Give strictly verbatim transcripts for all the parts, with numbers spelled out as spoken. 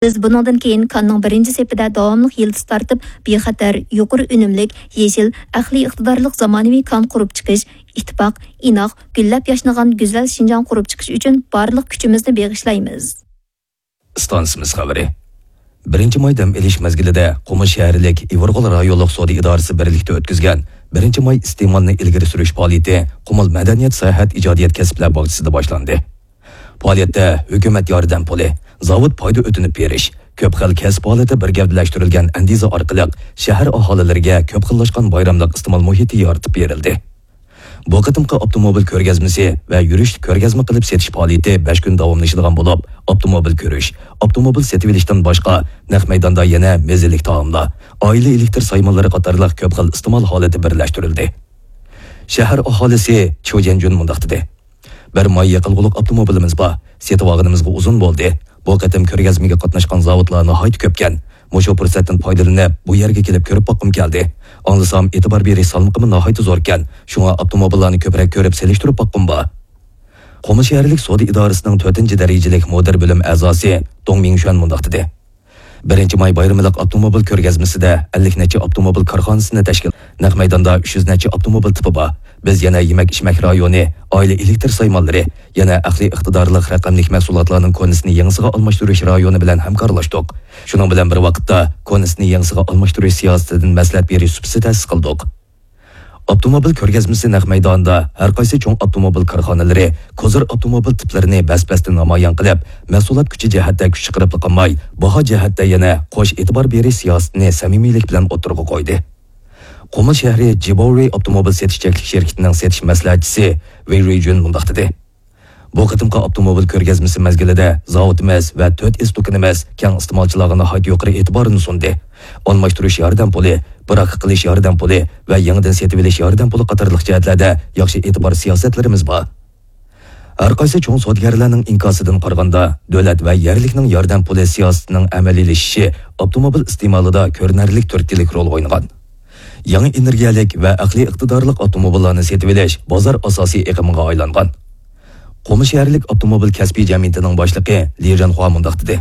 بىز بۇنىڭدىن كېيىن كاننىڭ بىرىنچى سېپىدە داۋاملىق يىلتىز تارتىپ، بىخەتەر، يۇقىرى ئۈنۈملۈك، يېشىل، ئەقلىي ئىقتىدارلىق زامانىۋى كان قۇرۇپ چىقىش، ئىتتىپاق، ئىناق، گۈللەپ ياشنىغان گۈزەل شىنجاڭ قۇرۇپ چىقىش ئۈچۈن بارلىق كۈچىمىزنى بېغىشلايمىز. ئىستانسىمىز خەۋىرى. بىرىنچى ماي دەم ئېلىش مەزگىلىدە قۇمۇل شەھەرلىك ئىۋىرغول رايونلۇق سودا ئىدارىسى بىرلىكتە ئۆتكۈزگەن بىرىنچى ماي ئىستېمالنى ئىلگىرى سۈرۈش پائالىيىتى قۇمۇل مەدەنىيەت ساياھەت ئىجادىيەت كەسىپلەر باغچىسىدا باشلاندى. پائالىيەتتە ھۆكۈمەت ياردەم پۇلى، زاۋۇت پايدا ئۆتۈنۈپ بېرىش، كۆپ خىل كەسىپ ھالىتى بىر گەۋدىلەشتۈرۈلگەن ئەندىزە ئارقىلىق شەھەر ئاھالىلىرىگە كۆپ خىللاشقان بايراملىق ئىستېمال مۇھىتى يارىتىپ بېرىلدى. بۇ قېتىمقى ئاپتوموبىل كۆرگەزمىسى ۋە يۈرۈشلۈك كۆرگەزمە قىلىپ سېتىش پائالىيىتى بەش كۈن داۋاملىشىدىغان بولۇپ، ئاپتوموبىل كۆرۈش، ئاپتوموبىل سېتىۋېلىشتىن باشقا، نەق مەيداندا يەنە مەززىلىك تائاملار، ئائىلە ئېلېكتر سايمانلىرى قاتارلىق كۆپ خىل ئىستېمال ھالىتى بىرلەشتۈرۈلدى. شەھەر ئاھالىسى چيۇ جيەنجۈن مۇنداق دېدى. بىر ماي يېقىلغۇلۇق ئاپتوموبىلىمىز بار. سېتىۋالغىنىمىزغا ئۇزۇن بولدى. بۇ قېتىم كۆرگەزمىگە قاتناشقان زاۋۇتلار ناھايىتى كۆپكەن. مۇشۇ پۇرسەتتىن پايدىلىنىپ، بۇ يەرگە كېلىپ كۆرۈپ باققۇم كەلدى. ئاڭلىسام، ئېتىبار بېرىش سالمىقىمۇ ناھايىتى زوركەن. شۇڭا ئاپتوموبىللارنى كۆپرەك كۆرۈپ سېلىشتۇرۇپ باققۇم بار. قۇمۇل شەھەرلىك سودا ئىدارىسىنىڭ تۆتىنچى دەرىجىلىك مۇدىر بۆلۈم ئەزاسى دۇڭ مىڭشۈەن مۇنداق دېدى. بىرىنچى ماي بايرىملىق ئاپتوموبىل كۆرگەزمىسىدە ئەللىك نەچچە ئاپتوموبىل كارخانىسىنى تەشكىل، نەق مەيداندا ئۈچ يۈز نەچچە ئاپتوموبىل تىپى بار. بىز يەنە يېمەك-ئىچمەك رايونى، ئائىلە ئېلېكتر سايمانلىرى، يەنە ئەقلىي ئىقتىدارلىق رەقەملىك مەھسۇلاتلارنىڭ كونىسىنى يېڭىسىغا ئالماشتۇرۇش رايونى بىلەن ھەمكارلاشتۇق. شۇنىڭ بىلەن بىر ۋاقىتتا، كونىسىنى يېڭىسىغا ئالماشتۇرۇش سىياسىتىدىن مەسلىھەت بېرىش سۇپىسى تەسىس قىلدۇق. ئاپتوموبىل كۆرگەزمىسى نەق مەيدانىدا ھەر قايسى چوڭ ئاپتوموبىل كارخانىلىرى كوزىر ئاپتوموبىل تىپلىرىنى بەس-بەستە نامايان قىلىپ، مەھسۇلات كۈچى جەھەتتە كۈچ چىقىرىپلا قالماي، باھا جەھەتتە يەنە قوش ئېتىبار بېرىش سىياسىتىنى سەمىمىيلىك بىلەن ئوتتۇرىغا قويدى. قۇمۇل شەھىرى جىباۋرى ئاپتوموبىل سېتىش چەكلىك شىركىتىنىڭ سېتىش مەسلىھەتچىسى ۋېي رۇيجۈن مۇنداق دېدى. بۇ قېتىمقى ئاپتوموبىل كۆرگەزمىسى مەزگىلىدە زاۋۇتىمىز ۋە تۆت ئېس دۇكىنىمىز كەڭ ئىستېمالچىلارغا ناھايىتى يۇقىرى ئېتىبارنى سۇندى. ئالماشتۇرۇش ياردەم پۇلى، براكە قىلىش ياردەم پۇلى ۋە يېڭىدىن سېتىۋېلىش ياردەم پۇلى قاتارلىق جەھەتلەردە ياخشى ئېتىبار سىياسەتلىرىمىز بار. ھەر قايسى چوڭ سودىگەرلەرنىڭ ئىنكاسىدىن قارىغاندا، دۆلەت ۋە يەرلىكنىڭ ياردەم پۇلى سىياسىتىنىڭ ئەمەلىيلىشىشى ئاپتوموبىل ئىستېمالىدا كۆرۈنەرلىك تۈرتكىلىك رول ئوينىغان. يېڭى ئېنېرگىيەلىك ۋە ئەقلىي ئىقتىدارلىق ئاپتوموبىللارنى سېتىۋېلىش بازار ئاساسىي ئېقىمىغا ئايلانغان. قۇمۇل شەھەرلىك ئاپتوموبىل كەسپىي جەمئىيىتىنىڭ باشلىقى لى جەنخۇا مۇنداق دېدى.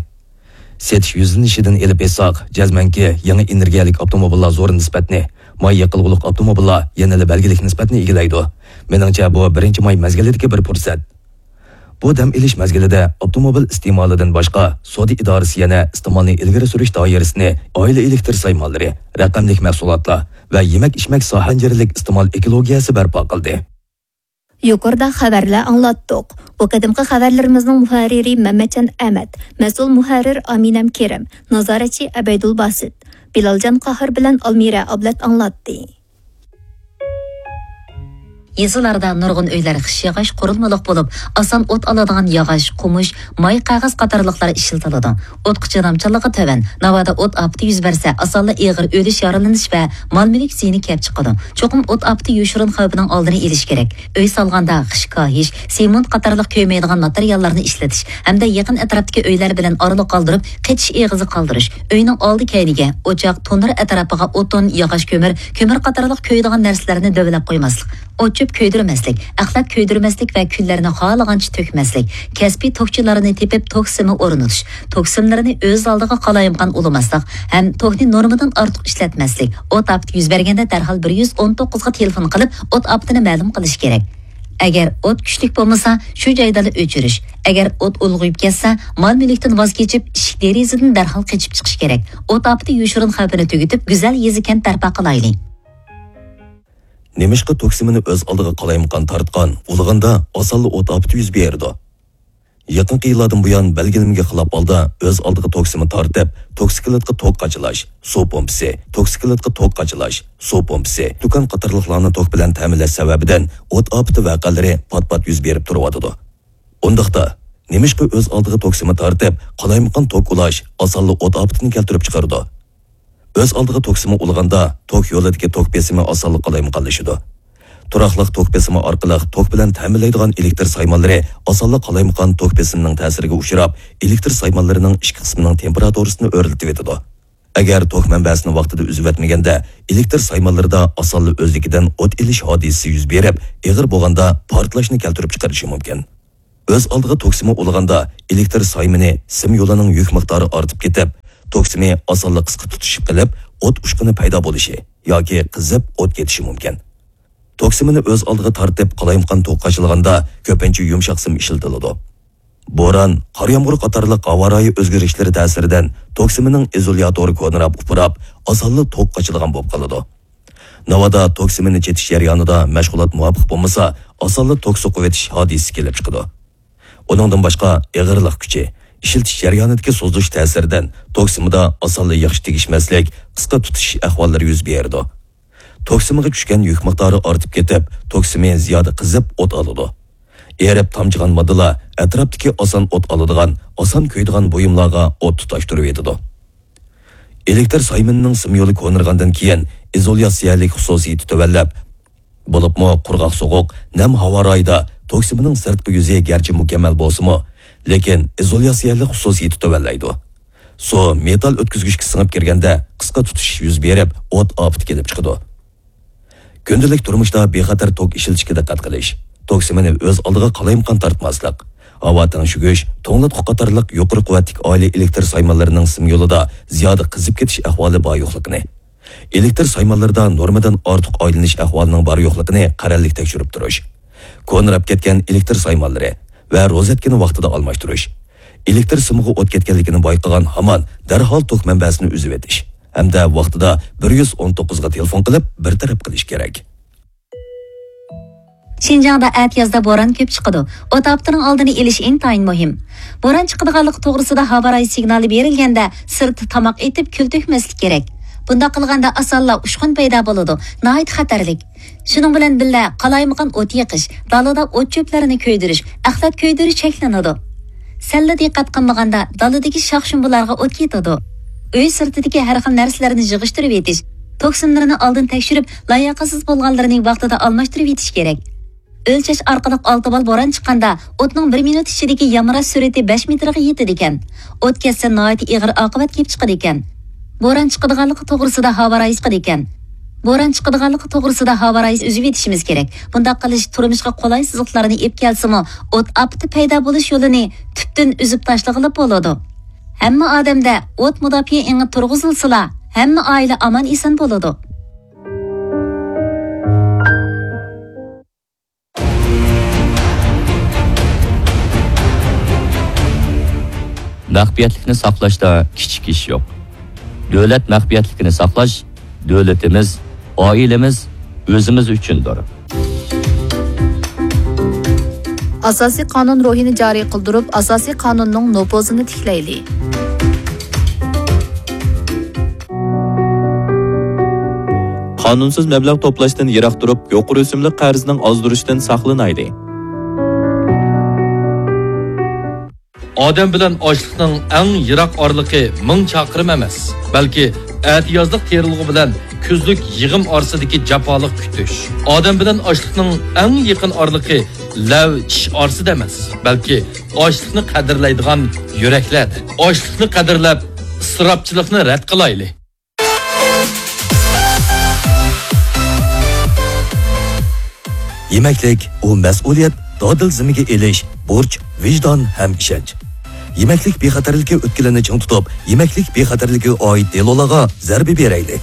سېتىش يۈزلىنىشىدىن ئېلىپ ئېيتساق، جەزمەنكى، يېڭى ئېنېرگىيەلىك ئاپتوموبىللار زور نىسبەتنى، ماي يېقىلغۇلۇق ئاپتوموبىللار يەنىلا بەلگىلىك نىسبەتنى ئىگىلەيدۇ. مېنىڭچە، بۇ بىرىنچى ماي مەزگىلىدىكى بىر پۇرسەت. بۇ دەم ئېلىش مەزگىلىدە ئاپتوموبىل ئىستېمالىدىن باشقا، سودا ئىدارىسى يەنە ئىستېمالنى ئىلگىرى سۈرۈش دائىرىسىنى ئائىلە ئېلېكتر سايمانلىرى، رەقەملىك مەھسۇلاتلار ۋە يېمەك-ئىچمەك ساھەنجىرلىك ئىستېمال ئېكولوگىيەسى بەرپا قىلدى. يۇقىرىدا خەۋەرلەر ئاڭلاتتۇق. بۇ قېتىمقى خەۋەرلىرىمىزنىڭ مۇھەررىرى مەمەتجان ئەمەت، مەسئۇل مۇھەررىر ئامىنەم كېرىم، نازارەتچى ئەبەيدۇل باسىت، بىلالجان قاھار بىلەن ئالمىرە ئابلەت ئاڭلاتتى. يېزىلاردا نۇرغۇن ئۆيلەر خىش ياغاچ قۇرۇلمىلىق بولۇپ، ئاسان ئوت ئالىدىغان ياغاچ، قومۇش، ماي قەغەز قاتارلىقلار ئىشلىتىلىدۇ. ئوتقا چىدامچانلىقى تۆۋەن، ناۋادا ئوت ئاپىتى يۈز بەرسە، ئاسانلا ئېغىر ئۆلۈش، يارىلىنىش ۋە مال-مۈلۈك زىيىنى كەپ چىقىدۇ. چوقۇم ئوت ئاپىتى يوشۇرۇن خەۋپىنىڭ ئالدىنى ئېلىش كېرەك. ئۆي سالغاندا خىش كاھىش، سېمونت قاتارلىق كۆيمەيدىغان ماتېرىياللارنى ئىشلىتىش ھەمدە يېقىن ئەتراپتىكى ئۆيلەر بىلەن ئارىلىق قالدۇرۇپ، قېچىش ئېغىزى قالدۇرۇش، ئۆينىڭ ئالدى كەينىگە، ئوچاق، تونۇر ئەتراپىغا ئوتۇن، ياغاچ كۆمۈر، كۆمۈر قاتارلىق كۆيىدىغان نەرسىلەرنى دۆۋىلەپ قويماسلىق، ئوت-چۆپ كۆيدۈرمەسلىك، ئەخلەت كۆيدۈرمەسلىك ۋە كۈللەرنى خالىغانچە تۆكمەسلىك، كەسپىي توكچىلارنى تېپىپ توك سىمى ئورنىتىش، توك سىملىرىنى ئۆز ئالدىغا قالايمىقان ئۇلىماسلىق ھەم توكنى نورمىدىن ئارتۇق ئىشلەتمەسلىك، ئوت ئاپىتى يۈز بەرگەندە دەرھال بىر يۈز ئون توققۇزغا تېلېفون قىلىپ، ئوت ئاپىتىنى مەلۇم قىلىش كېرەك. ئەگەر ئوت كۈچلۈك بولمىسا، شۇ جايدىلا ئۆچۈرۈش. ئەگەر ئوت ئۇلغىيىپ كەتسە، مال-مۈلۈكتىن ۋاز كېچىپ، ئىشىك-دېرىزىدىن دەرھال قېچىپ چىقىش كېرەك. ئوت ئاپىتى يوشۇرۇن خەۋپىنى تۈگىتىپ، گۈزەل يېزا-كەنت بەرپا قىلايلى. نېمىشقا توك سىمىنى ئۆز ئالدىغا قالايمىقان تارتقان، ئۇلىغاندا ئاسانلا ئوت ئاپىتى يۈز بېرىدۇ؟ يېقىنقى يىللاردىن بۇيان، بەلگىلىمىگە خىلاپ ھالدا ئۆز ئالدىغا توك سىمى تارتىپ، توكسىكلىتقا توك قاچىلاش، سۇ پومپىسى، توكسىكلىتقا توك قاچىلاش، سۇ پومپىسى، دۇكان قاتارلىقلارنى توك بىلەن تەمىنلەش سەۋەبىدىن ئوت ئاپىتى ۋەقەلىرى پات-پات يۈز بېرىپ تۇرۇۋاتىدۇ. ئۇنداقتا، نېمىشقا ئۆز ئالدىغا توك سىمى تارتىپ، قالايمىقان توك ئۇلاش ئاسانلا ئوت ئاپىتىنى كەلتۈرۈپ چىقىرىدۇ؟ ئۆز ئالدىغا توك سىمى ئۇلىغاندا، توك يولىدىكى توك بېسىمى ئاسانلا قالايمىقانلىشىدۇ. تۇراقلىق توك بېسىمى ئارقىلىق توك بىلەن تەمىنلەيدىغان ئېلېكتر سايمانلىرى ئاسانلا قالايمىقان توك بېسىمىنىڭ تەسىرىگە ئۇچراپ، ئېلېكتر سايمانلىرىنىڭ ئىچكى قىسمىنىڭ تېمپېراتۇرىسىنى ئۆرلىتىۋېتىدۇ. ئەگەر توك مەنبەسىنى ۋاقتىدا ئۈزۈۋەتمىگەندە، ئېلېكتر سايمانلىرىدا ئاسانلا ئۆزلۈكىدىن ئوت ئېلىش ھادىسىسى يۈز بېرىپ، ئېغىر بولغاندا پارتلاشنى كەلتۈرۈپ چىقىرىشى مۇمكىن. ئۆز ئالدىغا توك سىمى ئۇلىغاندا ئېلېكتر سايمىنى سىم يولىنىڭ يۈك مىقدارى ئارتىپ كېتىپ، توك سىمى ئاسانلا قىسقا تۇتىشىپ قېلىپ، ئوت ئۇچقۇنى پەيدا بولۇشى ياكى قىزىپ ئوت كېتىشى مۇمكىن. توك سىمىنى ئۆز ئالدىغا تارتىپ، قالايمىقان توك قاچىلىغاندا كۆپىنچە يۇمشاق سىم ئىشلىتىلىدۇ. بوران، قار يامغۇر قاتارلىق ھاۋا رايى ئۆزگىرىشلىرى تەسىرىدىن توك سىمىنىڭ ئىزولياتورى كونىراپ ئۇپراپ، ئاسانلا توك قاچىدىغان بولۇپ قالىدۇ. ناۋادا توك سىمىنى چېتىش جەريانىدا مەشغۇلات مۇۋاپىق بولمىسا، ئاسانلا توك سوقۇۋېتىش ھادىسىسى كېلىپ چىقىدۇ. ئۇنىڭدىن باشقا، ئېغىرلىق كۈچى، ئىشلىتىش جەريانىدىكى سوزۇلۇش تەسىرىدىن توك سىمىدا ئاسانلا ياخشى تېگىشمەسلىك، قىسقا تۇتىشىش ئەھۋاللىرى يۈز بېرىدۇ. توك سىمىغا چۈشكەن يۈك مىقدارى ئارتىپ كېتىپ، توك سىمى زىيادە قىزىپ ئوت ئالىدۇ. ئېرىپ تامچىغان ماددىلار ئەتراپتىكى ئاسان ئوت ئالىدىغان، ئاسان كۆيىدىغان بۇيۇملارغا ئوت تۇتاشتۇرۇۋېتىدۇ. ئېلېكتر سايمىنىنىڭ سىم يولى كونىرىغاندىن كېيىن ئىزولياتسىيەلىك خۇسۇسىيىتى تۆۋەنلەپ، بولۇپمۇ قۇرغاق سوغۇق، نەم ھاۋا رايىدا توك سىمىنىڭ سىرتقى يۈزى گەرچە مۇكەممەل بولسىمۇ، لېكىن ئىزولياتسىيەلىك خۇسۇسىيىتى تۆۋەنلەيدۇ. سۇ مېتال ئۆتكۈزگۈچكە سىڭىپ كىرگەندە قىسقا تۇتىشىش يۈز بېرىپ، ئوت ئاپىتى كېلىپ چىقىدۇ. كۈندىلىك تۇرمۇشتا بىخەتەر توك ئىشلىتىشكە دىققەت قىلىش، توك سىمىنى ئۆز ئالدىغا قالايمىقان تارتماسلىق، ھاۋا تەڭشىگۈچ، توڭلاتقۇ قاتارلىق يۇقىرى قۇۋۋەتلىك ئائىلە ئېلېكتر سايمانلىرىنىڭ سىم يولىدا زىيادە قىزىپ كېتىش ئەھۋالى بار يوقلۇقىنى، ئېلېكتر سايمانلىرىدا نورمىدىن ئارتۇق ئايلىنىش ئەھۋالىنىڭ بار يوقلۇقىنى قەرەللىك تەكشۈرۈپ تۇرۇش. كونىراپ كەتكەن ئېلېكتر سايمانلىرى ۋە روزەتكىنى ۋاقتىدا ئالماشتۇرۇش. ئېلېكتر سىمىغا ئوت كەتكەنلىكىنى بايقىغان ھامان دەرھال توك مەنبەسىنى ئۈزۈۋېتىش ھەمدە ۋاقتىدا بىر يۈز ئون توققۇزغا تېلېفون قىلىپ بىر تەرەپ قىلىش كېرەك. شىنجاڭدا ئەتىيازدا بوران كۆپ چىقىدۇ. ئوت ئاپىتىنىڭ ئالدىنى ئېلىش ئىنتايىن مۇھىم. بوران چىقىدىغانلىقى توغرىسىدا ھاۋا رايى سىگنالى بېرىلگەندە، سىرتتا تاماق ئېتىپ، كۈل تۆكمەسلىك كېرەك. بۇنداق قىلغاندا ئاسانلا ئۇچقۇن پەيدا بولىدۇ، ناھايىتى خەتەرلىك. شۇنىڭ بىلەن بىللە، قالايمىقان ئوت يېقىش، دالىدا ئوت چۆپلەرنى كۆيدۈرۈش، ئەخلەت كۆيدۈرۈش چەكلىنىدۇ. سەللا دىققەت قىلمىغاندا، دالىدىكى شاخ-شۇمبىلارغا ئوت كېتىدۇ. ئۆي سىرتىدىكى ھەر خىل نەرسىلەرنى يىغىشتۇرۇۋېتىش، توك سىملىرىنى ئالدىن تەكشۈرۈپ، لاياقەتسىز بولغانلىرىنى ۋاقتىدا ئالماشتۇرۇۋېتىش كېرەك. ئۆلچەش ئارقىلىق ئالتە بال بوران چىققاندا، ئوتنىڭ بىر مىنۇت ئىچىدىكى يامراش سۈرئىتى بەش مېتىرغا يېتىدىكەن. ئوت كەتسە، ناھايىتى ئېغىر ئاقىۋەت كېلىپ چىقىدىكەن. بوران چىقىدىغانلىقى توغرىسىدا ھاۋا رايى چىقىدىكەن. بوران چىقىدىغانلىقى توغرىسىدا ھاۋا رايى ئۈزۈۋېتىشىمىز كېرەك. بۇنداق قىلىش تۇرمۇشقا قولايسىزلىقلارنى ئېلىپ كەلسىمۇ، ئوت ئاپىتى پەيدا بولۇش يولىنى تۈپتىن ئۈزۈپ تاشلىغىلى بولىدۇ. ھەممە ئادەمدە ئوت مۇداپىئە ئېڭى تۇرغۇزۇلسىلا، ھەممە ئائىلە ئامان-ئېسەن بولىدۇ. مەخپىيەتلىكنى ساقلاشتا كىچىك ئىش يوق. دۆلەت مەخپىيەتلىكىنى ساقلاش دۆلىتىمىز، ئائىلىمىز، ئۆزىمىز ئۈچۈندۇر. ئاساسىي قانۇن روھىنى جارى قىلدۇرۇپ، ئاساسىي قانۇننىڭ نوپۇزىنى تىكلەيلى. قانۇنسىز مەبلەغ توپلاشتىن يىراق تۇرۇپ، يۇقىرى ئۆسۈملۈك قەرزنىڭ ئازدۇرۇشىدىن ساقلىنايلى. ئادەم بىلەن ئاشلىقنىڭ ئەڭ يىراق ئارىلىقى مىڭ چاقىرىم ئەمەس، بەلكى ئەتىيازلىق تېرىلغۇ بىلەن كۈزلۈك يىغىم ئارىسىدىكى جاپالىق كۈتۈش. ئادەم بىلەن ئاشلىقنىڭ ئەڭ يېقىن ئارىلىقى لەۋ چىش ئارىسىدا ئەمەس، بەلكى ئاشلىقنى قەدىرلەيدىغان يۈرەكلەردە. ئاشلىقنى قەدىرلەپ، ئىسراپچىلىقنى رەت قىلايلى. يېمەكلىك، ئۇ مەسئۇلىيەت، دادىل زىممىگە ئېلىش، بۇرچ، ۋىجدان ھەم ئىشەنچ. يېمەكلىك بىخەتەرلىكى ئۆتكىلىنى چىڭ تۇتۇپ، يېمەكلىك بىخەتەرلىكىگە ئائىت دېلولارغا زەربە بېرەيلى.